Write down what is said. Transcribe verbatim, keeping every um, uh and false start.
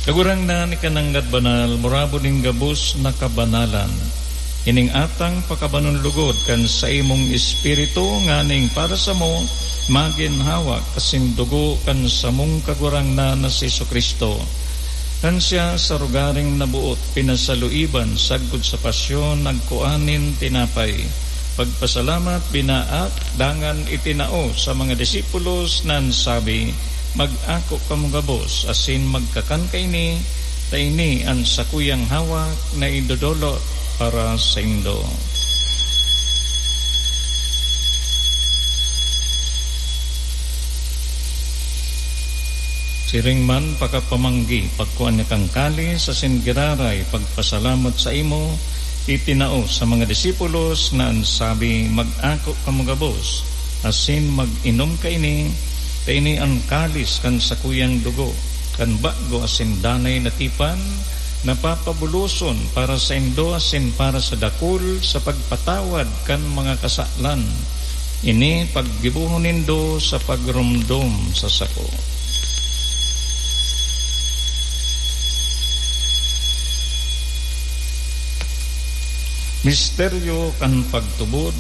Kagurangnan, ikananggad banal, murabo nin gabos na kabanalan. Ining atang pakabanon lugod kan saimong Espiritu, nganing para samo, magin hawak asin dugo kan samong Kagurangnan na si Jesu-Cristo. Kan siya sa rogaring naboot, pinasaluiban sagkod sa pasyon, nagkua nin tinapay. Pagpasalamat, binaak, dangan itinao sa mga disipulos na an sabi, "Mag-ako kamo gabos, asin magkakan kaini, ta ini an sakuyang hawak na idodolot para saindo." Siring man, pakapamanggi, pagkua niya kan kalis asin giraray, pagpasalamat saimo, itinao sa mga disipulos na an sabi, "Mag-ako kamo gabos, asin mag-inom kaini, ta ini an kalis kan sakuyang dugo, kan bago asin danay na tipan, na papabuloson para saindo asin para sa dakul sa pagpatawad kan mga kasalan. Ini paggibohon nindo sa pagromdom sa sako." Misteryo kan pagtubod.